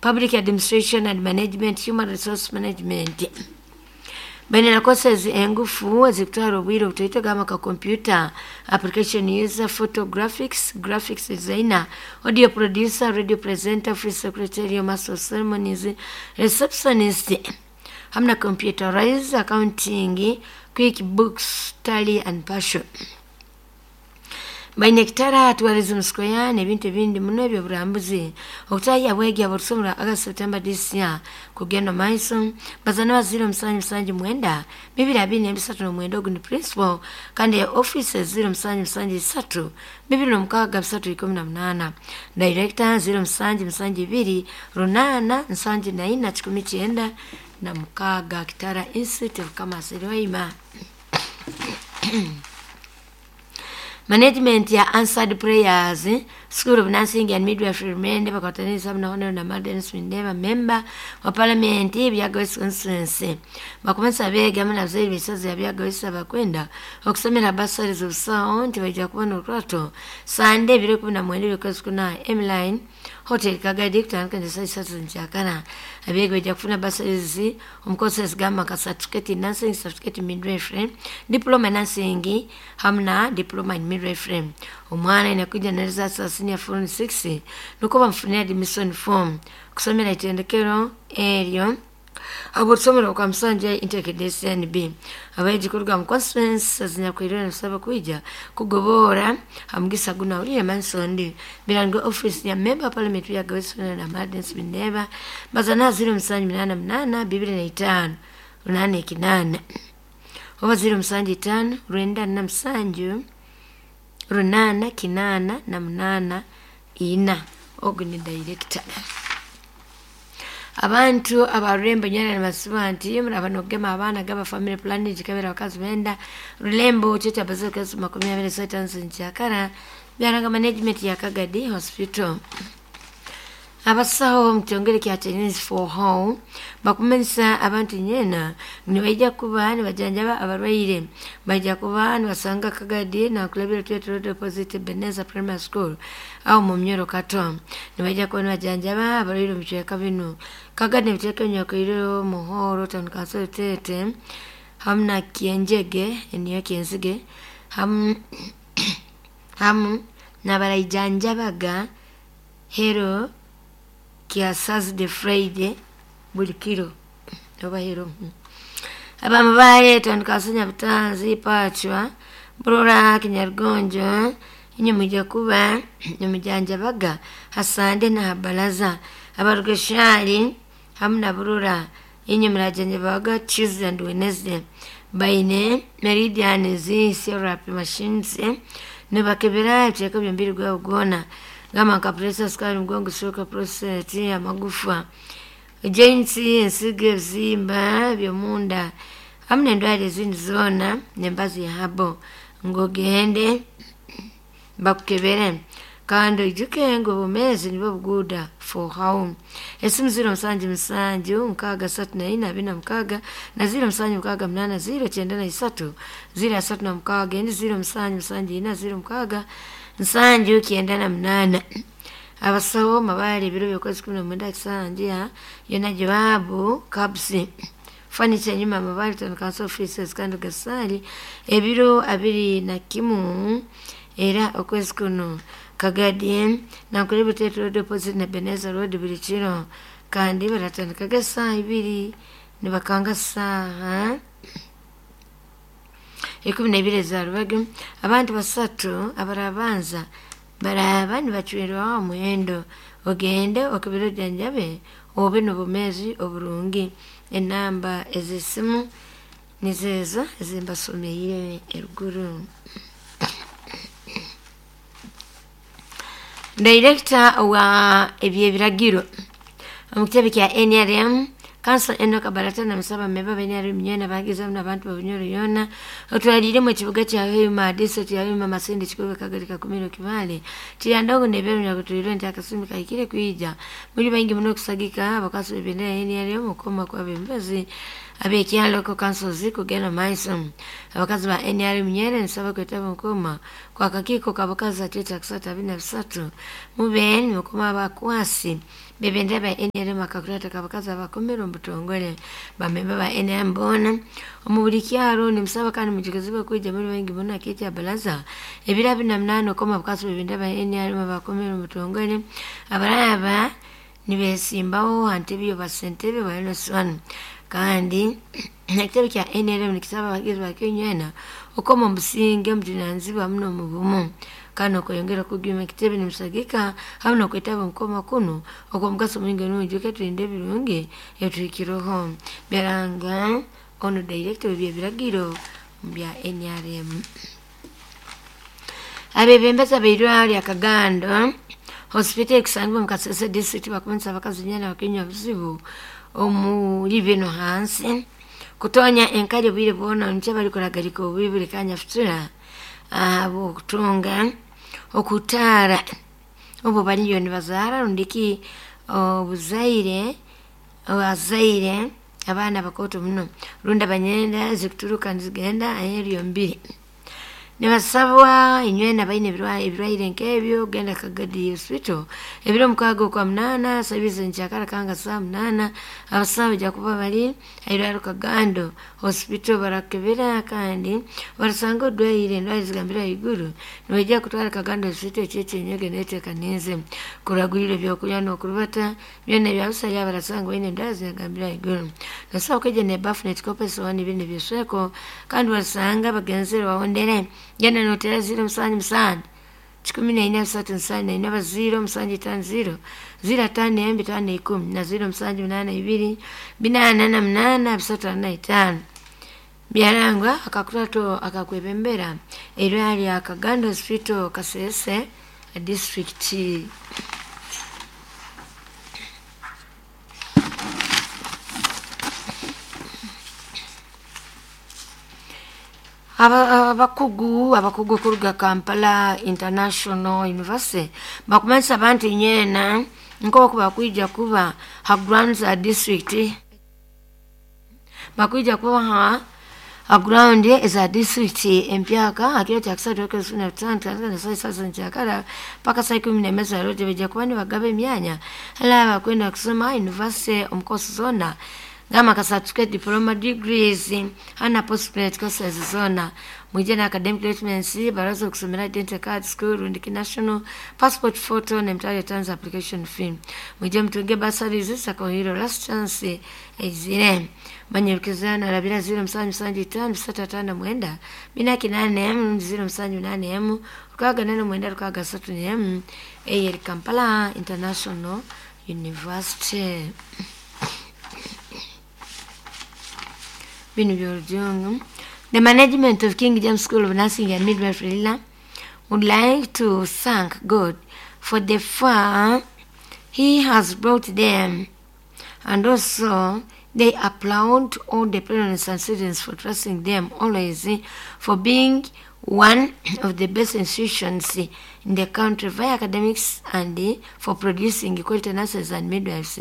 Public Administration and Management, Human Resource Management. Baine na courses engufu ezikutwara obwire obutoito gamba nka computer application user, photographics, graphics designer, audio producer, radio presenter, free secretarial, master of ceremonies, receptionist, hamwe na computerized accounting, quick books, tally and passion. Baine kitara tourism square n'ebintu ebindi muno eby'oburambuzi okutahya bwegi aborusomero August September this year kugenda maiso bazana ba 0779 223 ogu ni principal kandi ya office 0773 263 18 director 0772 874 96 Kitara Institute of Commerce Rwaima. Management ya Answered Prayers School of Nursing and Midwifery Remende bakwataniriza na Honorable na Madam Mindeba member wa Parliament Byaga West Constituency bakumanisa abeegi hamwe n'abazaire b'esaza ya Byaga West abakwenda okusomera bursaries obusaho nti baija kubona orukurato Sande ebiro 19 by'okwezi kuna M-Line Hotel Kagadi kutandika na saa 3 nkyakana. Abeegi baija kufuna bursaries omu courses gamba nka certificate in nursing, certificate in midwifery, diploma in nursing hamwe na diploma in midwifery. Omwana aine kwija na results za senior form 6 nukwo bamufunire admission form kusomera itendekero eryo aborusomero kwa Musanje Integrated SNB. Abeegi kuruga mu constituency ezinyakwirire nibasaba kwija kugobora hamugisa guno awulire Mansondi birango office ya member wa parliament Byaga West na Madens Bineba bazana 0788 25 88 oba 075 97 8 8 8 4 ogu ni director. Abantu abarurembo nyana nibasiba nti muraba nokugema abaana gaba family planning gikabera abakazi benda Rulembo kyo bazoka 25 nkyakara byaranga management ya Kagadi Hospital. Abasaho omu kitongole kya Chinese for Home bakumanyisa abantu nyena nibaija kuba nibajanjaba abarwaire baija kuba nibasanga Kagadi nakulabira Twete Road opposite Ebenezer Primary School aho mu Myoro Kato nibaija kuba nibajanjaba abarwaire omu bicweka binu Kagadi nebicweka ebinyakwirire Muhoro Town Council Tete hamu na Kienjege niyo Kienzige hamu hamu nabaraijanjabaga hero kya Thursday Friday buli kiro oba hero. Abamubale Town Council Nyabutanzi Pachwa Burora Kinyarugonjo inye mwija kuba nimujanjabaga hasande na habalaza abarugeshali hamu na Burora inye murajanjabaga Tuesday and Wednesday baine meridian zi therapy machines nibakebera ebicweka by'omubiri gwabo gwona gamba nka pressure, sukari, mugongo, stroke, prostate, amagufa, joints, ensigo, ebizimba by'omunda hamu n'endwara ezindi zoona n'embazi ya habo ng'ogende bakukebere kandi oijuke ngu obumeezi nibwo buguuda for home. Esimu 077 634 26 na 0768 093 036 endi 0774 06 798. Abasaho mabale ebiro by'okwezi 19 kisanja yona jawabu kabsi furniture nyuma amabale Town Council offices kandi gasali ebiro 21 era okwezi kuno Kagadi nakuleba Tete Road opposite na Ebenezer Road buli kiro kandi baratandikaga esaaha 2 nibakanga saaha 12 za rubaga. Abantu basatu abarabanza baraba nibacwerwaho omuhendo ogende okebere ojanjabe obe n'obumeezi oburungi. Enamba ez'esimu nizeezo ezimbasomeire eruguru. Director wa ebyebiragiro omu kitebe kya NRM Council Enoch Barata na musaba memba ba NRM nyena bagiza n'abantu ba Bunyoro yona otwaliremu ekibuga kya Hoima district ya Hoima Masindi Kikuube Kagadi Kakumiro Kibale Kiryandongo n'ebyeru nyakutuirwe nti akasumi kahikire kwija muri baingi muno okusagika abakazi b'ebendera ya NRM okukoma kw'abebembezi abekyalo local councils kugenda maiso. Abakazi ba NRM Nyere nsaba kwetaba nkoma kwa kakiiko kabakazi atweta kusatu abiri na bisatu mube nimukoma abakwasi bebendera ba NRM akakurata kabakazi abakomera omu butongole. Bamemba ba NRM boona omu buli kyaro nimusaba kandi mujukizibwe kwija muri baingi muno akekya baraza ebiro 28 okoma abakazi bebendera ba NRM abakomera omu butongole abaraba nibesimbaho ha ntebe y'obasentebe ba LS1. Kandi ekitebe kya NRM nikisaba abagizi ba Kenya okoma omusinge omujunanizibwa muno omu bumu kandi okweyongera okuguma ekitebe nimusagika hamu n'okwetaba omukoma kunu okw'omugaso mwingi nungi tulinde ebirungi ebituhikireho. Byaranga ono director w'ebyebiragiro bya NRM. Abebembezi abeirwaro lya Kagando hospital ekusangibwa omu Kasese district bakumanyisa abakazi nyena bakinywa obuzibu omuri bino hansi kutonya enkali obwire bwona nikyo barikuragarika obubi buri kanya futura ahabw'okutunga okutaara obu bariyo nibazaara rundiki obuzaire abazaire abaana bakooto muno rundi abanyenda zikuturuka nizigenda aheeru y'omubiri. Nibasabwa inywena baine ebirwaire nk'ebyo genda Kagadi Hospital ebiro 6 okwa 8 sabizi nkyakara kanga saa 8 abasawo baija kuba bari airwaro Kagando Hospital barakebera kandi barasanga odwaire endwara zigambire ahaiguru nibaija kutwara Kagando Hospital ekyekyenya neteekanize kuragurira ebyokurya n'okurubata byona ebyabusaya barasanga baine endwara zigambire ahaiguru. Nosobola kwija n'ebafu n'ekikopo esowaani binu ebyesweko kandi barasanga bagenzere bawondere genda notera 0 7 7 14 3 7 4 0 7 5 0 0 5 5 10 na 0 7 8 2 4 8 3 4 5. Byarangwa akakurato akakwebembera erwaro lya Kagando Hospital Kasese district. Abakugu kuruga Kampala International University bakumanyisa abantu nyena nk'oku bakwija kuba ha grounds a district bakwija kuba ha ground eza district empyaka akiro kya kusatu okwezi na tano na saa sasa nkyakara paka saa 11 za rote baija kuba nibagaba emyanya hala bakwenda kusoma university omu course zona ngama ka certificate, diploma, degrees hana postgraduate courses zona mwije na academic documents baraza kusomera identity card school rundi national passport photo na mtale terms application fee. Mwije mtunge bursaries za Kohiro last chance ezire manyerkezana labira 0 7 7 5 6 5 9 4 8 0 7 8 6 8 9 6 3 M Kampala International University. The management of King James School of Nursing and Midwifery would like to thank God for the far He has brought them, and also they applaud all the parents and students for trusting them always, for being one of the best institutions in the country via academics and for producing quality nurses and midwives.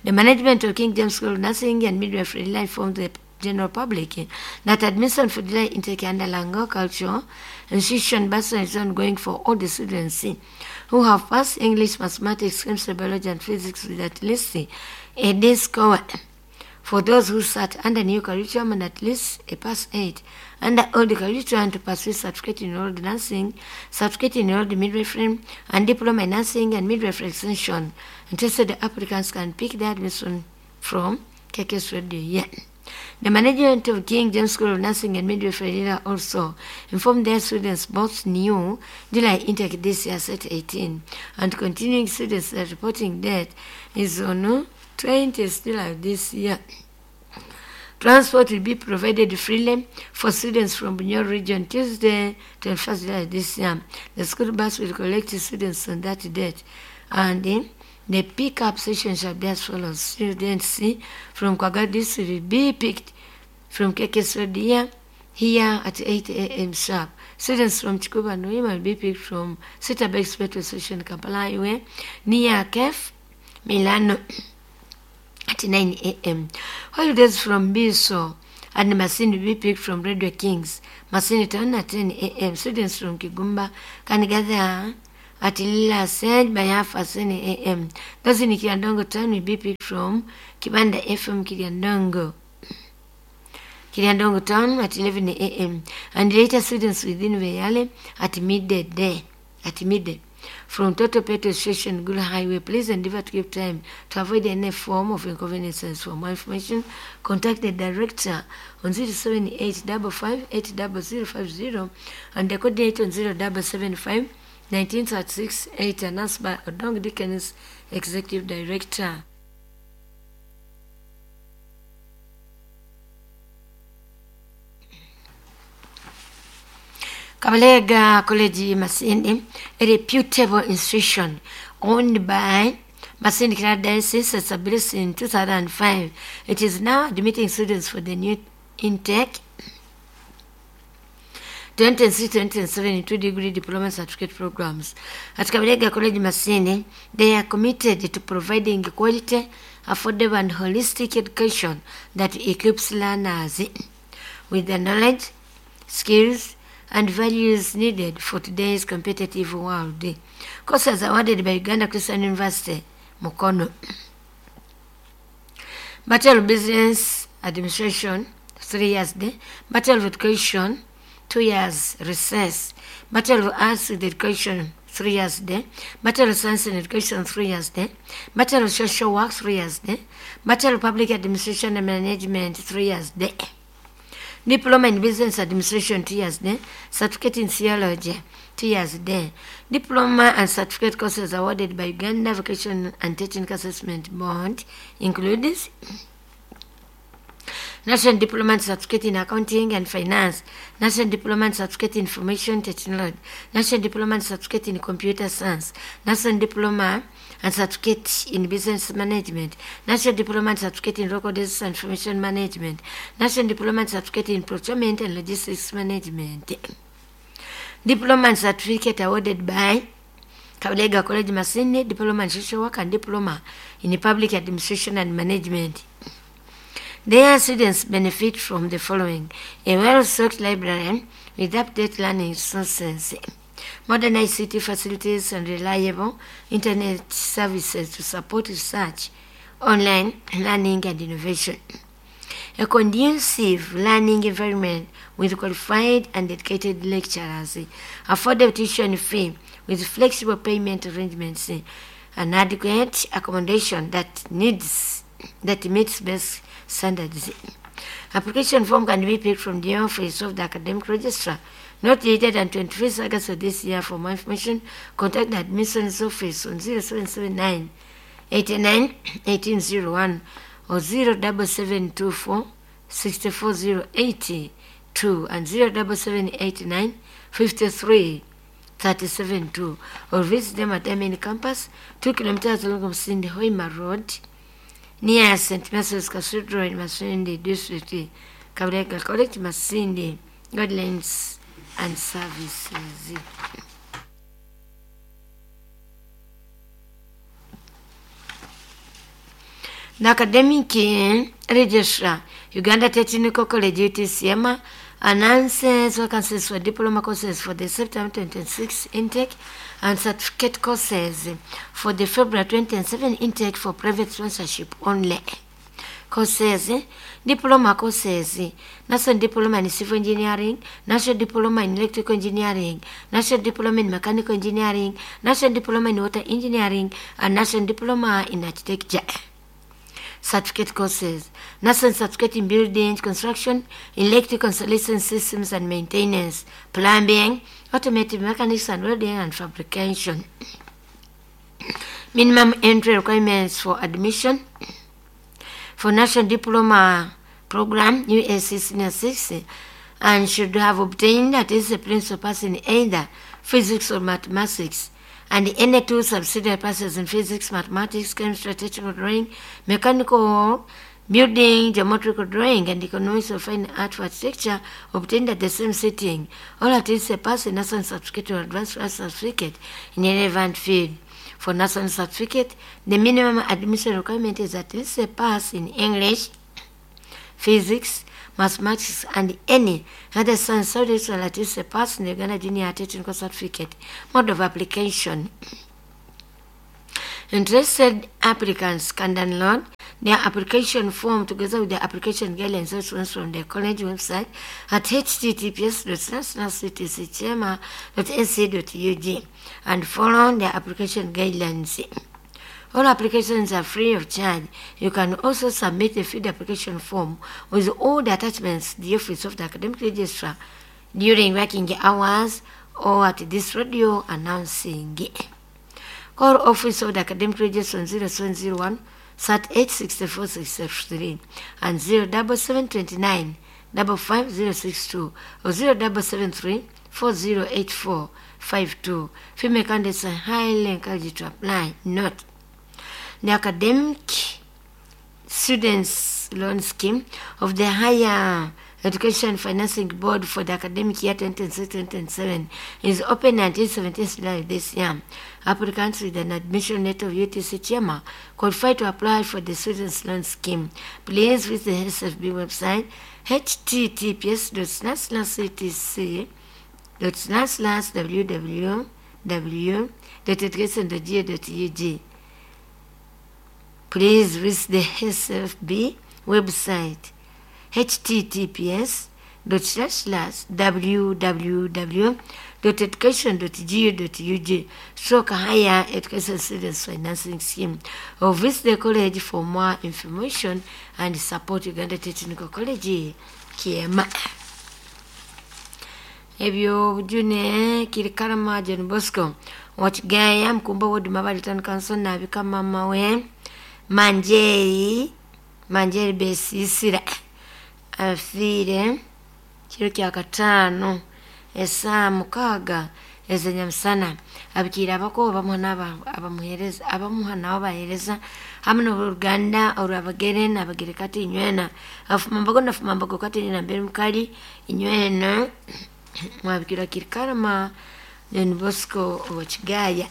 The management of King James School of Nursing and Midwifery informed the general public that admission for July intake under Lango Culture Institution bursary is ongoing for all the students who have passed English, Mathematics, Chemistry, Biology, and Physics with at least a D score. For those who sat under new curriculum and at least a pass 8, under old curriculum to pursue certificate in old nursing, certificate in old midwifery, and diploma in nursing and midwifery extension. Interested applicants can pick their admission from KKS Radio. Yeah. The management of King James School of Nursing and Midwifery also informed their students both new July intake this year set 18 and continuing students that reporting date is on 20th July this year. Transport will be provided freely for students from Bunyoro region Tuesday, 21st July this year. The school bus will collect students on that date, and the pickup session shall be as follows. Students from Kwaga district will be picked from KKS Road here at 8 a.m. sharp. Students from Chikuba and Hoima will be picked from Sitabex Petrol Station, Kampala Highway, near Kef, Milano, at 9 a.m. While those from Biso and Masindi will be picked from Radio Kings, Masindi Town at 10 a.m. Students from Kigumba can gather at Lila Sage by 10:30 a.m. Those in Kiryandongo Town will be picked from Kibanda FM Kiryandongo. Kiryandongo Town at 11 a.m. and later students within Veyale at midday. At midday. From Toto Petrol Station, Gulu Highway, please endeavor to keep time to avoid any form of inconveniences. For more information, contact the director on 078 5580050 and the coordinator on 0775 1936 8, announced by Odong Dickens, Executive Director. Kabalega College Masindi, a reputable institution owned by Masindi Diocese, established in 2005. It is now admitting students for the new intake 2026-2027 in 2-degree diploma certificate programs. At Kabalega College Masindi, they are committed to providing quality, affordable, and holistic education that equips learners with the knowledge, skills, and values needed for today's competitive world. Courses awarded by Uganda Christian University, Mukono. Bachelor of Business Administration, 3 years day. Bachelor of Education, 2 years recess. Bachelor of Arts with Education, 3 years day. Bachelor of Science in Education, 3 years day. Bachelor of Social Work, 3 years day. Bachelor of Public Administration and Management, 3 years day. Diploma in Business Administration, 2 years day. Certificate in Theology, 2 years day. Diploma and certificate courses awarded by Uganda Vocation and Technical Assessment Board includes National Diploma and Certificate in Accounting and Finance, National Diploma and Certificate in Information Technology, National Diploma and Certificate in Computer Science, National Diploma and Certificate in Business Management, National Diploma and Certificate in Records and Information Management, National Diploma and Certificate in Procurement and Logistics Management. Diploma and Certificate awarded by Kabalega College Masindi, Diploma in Social Work and Diploma in Public Administration and Management. Their students benefit from the following: a well-stocked library with up-to-date learning resources, modern ICT facilities and reliable internet services to support research, online learning and innovation, a conducive learning environment with qualified and dedicated lecturers, affordable tuition fee with flexible payment arrangements, and adequate accommodation that meets best standards. Application form can be picked from the office of the academic registrar not later than 21st August of this year. For more information, contact the admissions office on 0779 89 1801 or 07724 64082 and 07789 53 372, or visit them at MN Campus, 2 kilometers along Masindi Hoima Road, near St. Mary's Cathedral in Masindi District, Kabalega College, Masindi. Guidelines and services. The Academic Registrar, Uganda Technical College, UTCM, announces vacancies for diploma courses for the September 2026 intake and certificate courses for the February 2027 intake for private sponsorship only. Courses, diploma courses, National Diploma in Civil Engineering, National Diploma in Electrical Engineering, National Diploma in Mechanical Engineering, National Diploma in Water Engineering, and National Diploma in Architecture. Certificate courses, National Certificate in Building, Construction, Electrical Installation Systems and Maintenance, Plumbing, Automotive Mechanics and Welding and Fabrication. Minimum entry requirements for admission for National Diploma Program, UAC Senior 6, and should have obtained at least a principal pass in either physics or mathematics, and any two subsidiary passes in physics, mathematics, chemistry, technical drawing, mechanical building, geometrical drawing, and economics of fine art for architecture obtained at the same sitting, or at least a pass in national certificate or advanced class certificate in a relevant field. For national certificate, the minimum admission requirement is at least a pass in English, physics, mathematics, and any other science subjects and at least a pass in the Uganda Junior Technical Certificate. Mode of application. Interested applicants can download their application form together with the application guidelines from the college website at https://ctcchema.ac.ug and follow the application guidelines. All applications are free of charge. You can also submit a filled application form with all the attachments to the office of the academic registrar during working hours or at this radio announcing. Call office of the academic registrar on 0701 38 64 63 and 07729 55062 or 0773 4084 52. Female candidates are highly encouraged to apply. Note: the academic students loan scheme of the Higher Education Financing Board for the academic year 2026-2027 is open until 17th July this year. Applicants with an admission letter of UTC Chairman qualify to apply for the students loan scheme. Please visit the SFB website https://ctc.//www.education.go.ug. Please visit the SFB website https://www.education.go.ug stroke higher education students financing scheme, or visit the college for more information and support. Uganda Technical College, Kiema. Ebyo bujune Kirikarama John Bosco Wakigaya, Mkumba Ward, Mabali Town Council, nabika mama we Manjeri, Manjeri Besisira, afiire kiro kya kataano esaa 6 ez'enyamusana. Abikiire abako abamuha abamuhereza, abamuha nabo bahereza, hamwe n'oluganda olwabagere nabagere kati inywena afumambago nafumambago kati nina mbere mukali inywena mwabikira Kirikarama John Bosco Owakigaya.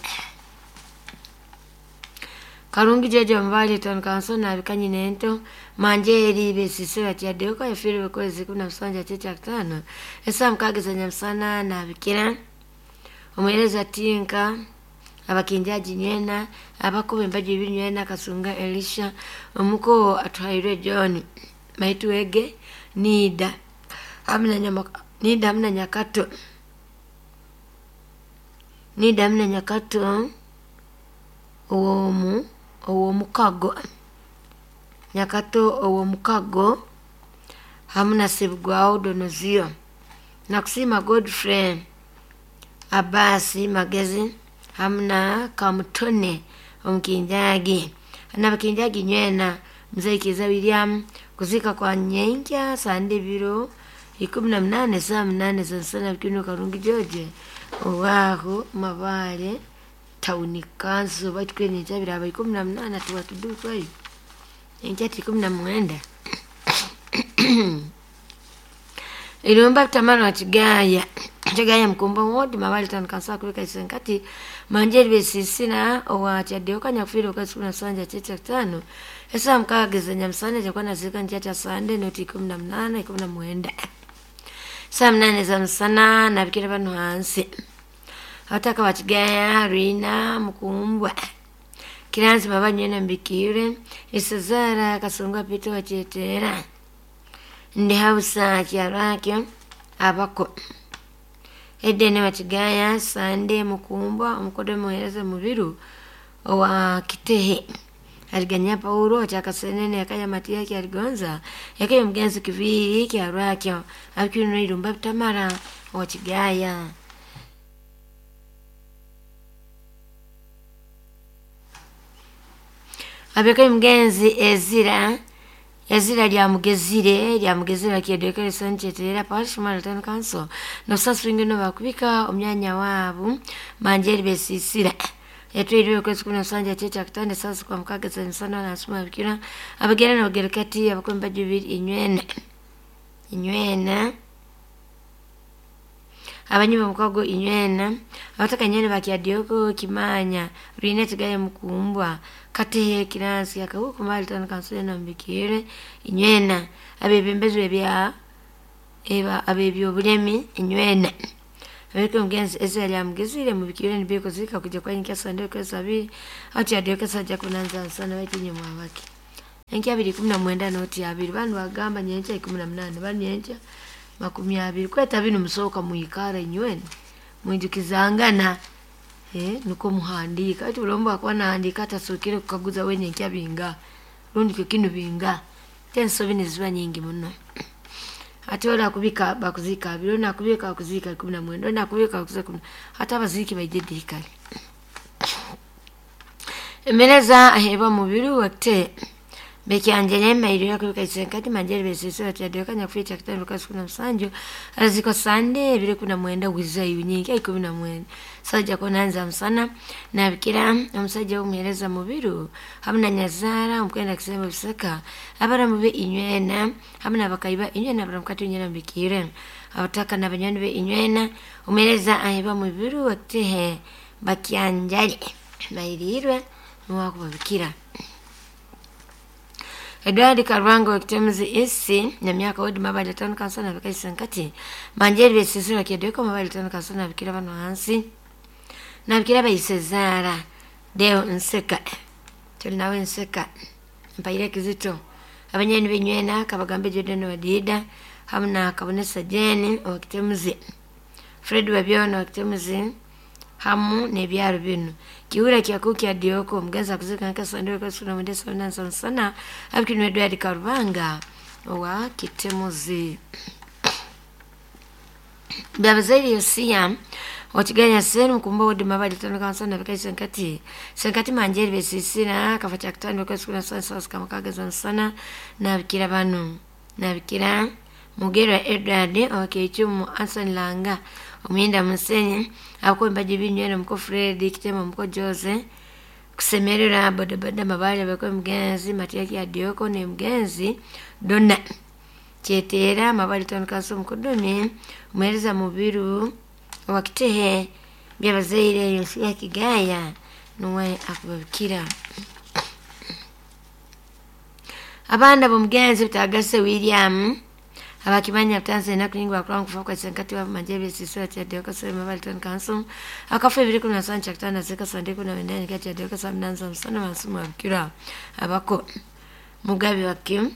Karungi Jeje Mbali Town Council nabika nyina ento Manjeri Besisira Kyadeuka, yafiire kwezi 17 kyekya kataano esaa 6 ez'enyamusana. Nabikira omuhereza Tinka, abakinjaji nywena, abakuba embaji ibiri nywena, Kasunga Elisha, omuko Atwairwe John, Maituwege Nida hamna nyama, Nida hamna Nyakato, Nida hamna Nyakato owomu owomukago, Nyakato owomukago, hamna Sebugwawo Donozio. Nakusima Godfrey Abasi Magezi hamna Kamutone omukinjagi nabakinjagi nywena. Mzee Kiza William, kuzika kwa nyenkya sande biro 18 saa 8 za nsana bikino. Karungi George owaho Mabale Town Council, baitu biraba 18 tuwatudutwayo enkya 19. Irumba Tamara wa Kigaya, Kigaya, Mkumba Ward, Mabali Town Council, kubika isenkati Manjeri Besisina owa Kyadeuka, nyakufiire okwezi 17 kyekya kataano esaa 6 ez'enyamusana. Kyakuba nazika nkya kya sande noti 18 19 saa 8 za musana. Nabikira bano hansi: abataka ba Kigaya, Rwina, Mukumbwa, Kiranzi Mabanywena, Mbikire Isazara, Kasunga Pito Wakyetera, ndi hausa Kyarwakyo, abako Edene Wakigaya, Sande Mukumbwa, omukodo muhereza Mubiru owa Kitehe, aliganya Paulo kyakasenene yakaya Matiya kyaligonza yakaya omugenzi Kiviri Kyarwakyo, abikirino Irumba Bitamara Wakigaya. Abekayo omugenzi Ezira, Ezira Lyamugezire, Lyamugezire kyedekere Sanchetera Parish, Mara Town Council, nosaswingino bakubika omyanya waabu Manjeri Besisira, yatwairwe okwezi 17 kyekya kataano saa 6 z'emisana. Nasuma bikira abagere nabagere kati abakwemba jubiri inywena inywena. Abanyuma mukago inywena abataka nywena bakyadioko kimanya rwine kigaye mukumbwa katehe kiransi akahuku mali tano kansule na mbikire inywena abebembezi bya eba abebyobulemi inywena abeke mugenzi Ezra lyamugezire mubikire nibiko zika kuja kwa nkia sande kwa sabiri ati adioka saja kunanza sana baitinye mwabaki enkia 219 noti abiri banu bagamba nyencha 18 banu nyencha 20 kweta binu musoka muikara inywena mwijukizangana nuko muhandika ati ulomba akwa naandika atasukire kukaguza wenye nkia binga rundi kikinu binga tenso bini ziba nyingi muno ati wala kubika bakuzika abiri na kubika bakuzika 19 na kubika bakuzika hata abaziki baije dikali emereza aheba mubiri wakte bekyanjere mairo yakubika isenkati manjere besese atyadoka nyakuficha kitano kasi kuna msanjo aziko sande bile kuna mwenda wiza yunyingi 19 saja konanza msana na bikira omusajja omuhereza mubiru hamna nyazara omkwenda kisema bisaka abara mube inywena hamna bakaiba inywena baramkati inywena bikire abataka na banyani be inywena omuhereza aheba mubiru waktehe bakyanjale mairirwe mwakubabikira Edward Karwango wakitemzi isi na miaka odi mabali tano kansana bikaisa nkati manjeri besisira kiedeko mabali tano kansana bikira bano hansi na bikira bayisezara deo nseka tuli nawe nseka mpaire kizito abanyeni binywena kabagambe Jordan wadida hamna kabonesa Jane wakitemzi Fred wabyona wakitemzi hamu nebyaro bino kiura kyaku kya dioko mgenza kuzika nkasandwe kasuna mwendesa nansa sana abikinu Edward Karubanga wa kitemuzi Babazairi Yosia watiganya senu mkumba wodi mabali tano kansana bikaisa nkati senkati manjeri besisira kafacha kitando kasuna sana kama kagaza sana na bikira banu na bikira Mugera Edward wakichumu Anson Langa omuyenda musenyi akomba jibinywena muko Fred kitema muko Jose kusemerera bodaboda mabali bako mgenzi Matiaki Adioko ne mgenzi Dona Chetera mabali tano kaso mukodomi umwereza mubiru wakitehe byabazaire Yosia Kigaya nuwe akubabikira abanda bomgenzi bitagase William abakimanya Tanzania kuningwa kwa kufa kwa senkati wa manjebe sisura cha dioka sema mabali tano kanso akafa ibiri kuna sancha kitana zeka sandiko na wendani kati ya dioka samnanza msana masumu abikira abako mugabi wakim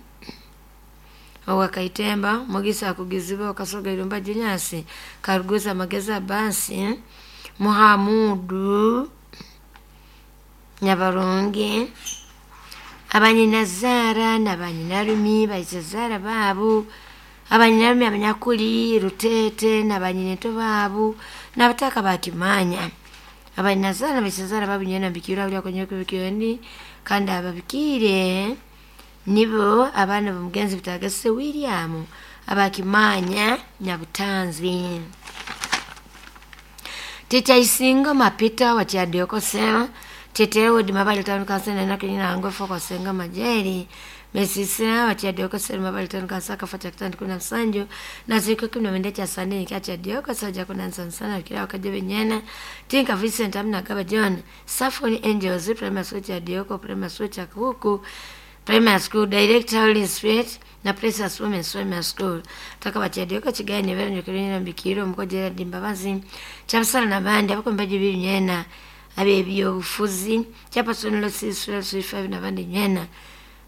wakaitemba mugisa akugiziba wakasoga ilumba jinyasi karuguza mageza basi Muhamudu Nyabarungi abanyinazara n'abanyinarumi baisezara babu abanyinarumi abanyakuli rutete n'abanyineto babu n'abataka bakimanya abanyinazara baisezara babu nyena bikira uli kwenye kubikiyoni kandi ababikire nibo abana bamugenzi bitagase William abakimanya nyabutanzi Tita isingo mapita wakyadiokosema tete wodi mabali tano kansana nakinina ngofa kwa senga majeri mesisina wakyadiokosema mabali tano kansaka fata kitandi kuna msanjo na ziko kimna mende cha sande nikacha dioko saja kuna nsansana kila wakaje benyana tinka Vincent amna gaba John Safoni Angels Primary School cha dioko Primary School cha huku Primary School Director Holy Spirit na Precious Women's Primary School taka bachadioka chigani bero nyokelina mbikiro mukojera dimbabazi chapsala na bandi abakombaji binyena abebyobufuzi chapasonelo sisula sifa na bandi nyena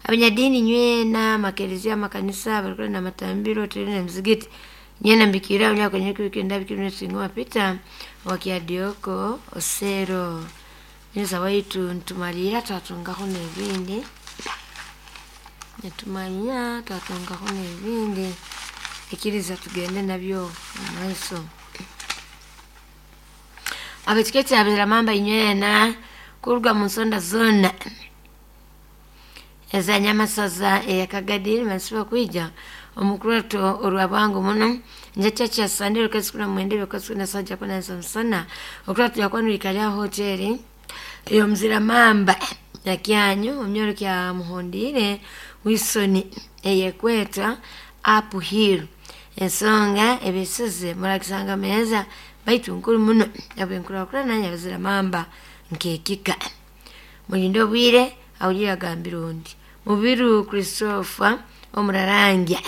abanyadini nywena makelezia makanisa barikora na matambiro tena mzigiti nyena mbikira unya kwenye kikenda bikiro singo pita wakiadioko osero nyesa waitu ntumalira twatungaho nebindi netumanya twatungaho nebindi ikiriza tugende nabyo mumaiso abetiketi abira mamba inywena kuruga mu nsonda zona eza nyamasaza eyakagadiri masiba kwija omukurato olwabwangu muno nje cha sandero kasikuna mwende bakasikuna saja kuna sansana okurato yakwanulika hoteli eyo mzira mamba yakyanyu omnyoro kya muhondire wisoni eyekweta up hill Ensonga ebisize muragisanga meza baitu nkuru muno abwenkurakurana nyabazira mamba nkekika. Mulinde obwire awulire agambira ondi. Mubiru Christopher omurarangya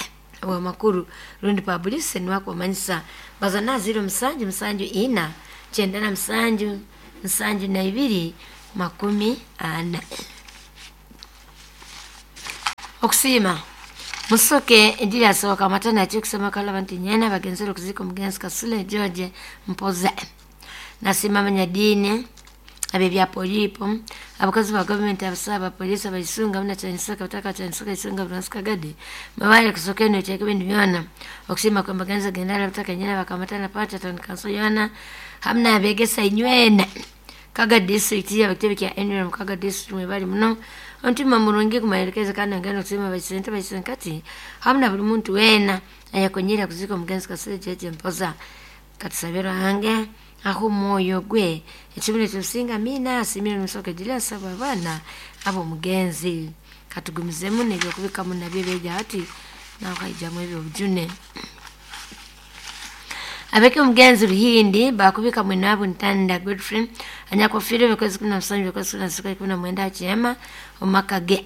owamakuru rundi publicity niwakumanyisa bazana 07 7 4 97 72 40. Okusima musoke endiri asoboka amatana ati kusema kala bantu nyena bagenzera okuzika omugenzi Kasule George Mpoza. Nasima abanyadiini ab'ebya polipo abakozi ba gavumenti abasaba abapoliisi abaisunga muna kyanisaka bataka kyanisaka isunga buransi kagadi mabale kusoka eno kyeka ebintu byona. Okusiima kwe mbagenzi gendala bataka nyena bakamatana pata town council yona hamuna abegesa inywena Kaga district abakitebe kya NRM Kaga district mwebali muno ontima murungi kumaelekeza kandi ngeno kusema baisente baisenkati hamuna buli muntu wena ayakonyera kuzika omugenzi Kasule George Mpoza. Katusabira hange aho omwoyo gwe ekibina ekyosinga mina asimire musoke gira asaba abaana abo omugenzi. Katugumizemu nebyokubikamu nabyo ebyeja hati nawe haijamu ebyobujune. Abeke omugenzi Ruhindi bakubika mwinabu Ntanda Godfrey anyakufiire ebikozi 17 ebikozi 19 kyema omumaka ge.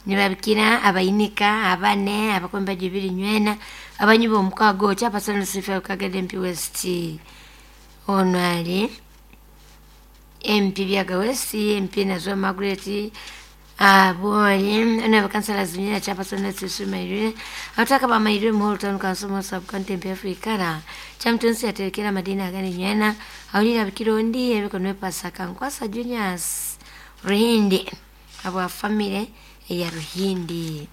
Nibabikira abayinika abane abakombe bibiri nywena abanyi b'omukago kyapasana Lucifer Kagede MP West ono ali MP Byaga West MP Nazwa Margaret aboli ono abakansala zinyina kyapasana Lucifer abataka bamairwe muhoro town council mu sub county MP Afrikara chamtunsi aterekera madina agani nywena awulira bikirondi ebikono pasaka nkwasa Juniors Ruhindi abwa family ya Ruhindi.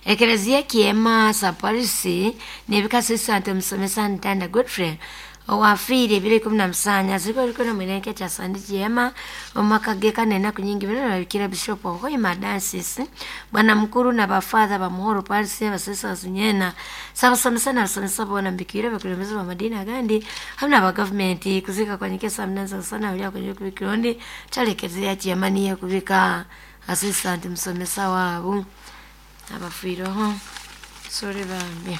Ekelezia kiema sa polisi nebikasi sante musomesa Ntanda Godfrey owafiire ebiro 17 aziko liko na mweneke kya sandi kiema omaka ge kane enaku nyingi bino babikira Bishop Ohoima Dansis bwana mukuru na bafather ba Muhoro Parisi abasesa zinyena sabasomesa na basomesa bona mbikira bakulembeza ba madini agandi hamna ba government kuzika kwa nyekesa mnanza sana ulia kwenye kubikirondi chalekezea kiema niye kubika assistant musomesa wabo abafiireho. Sorry bambi.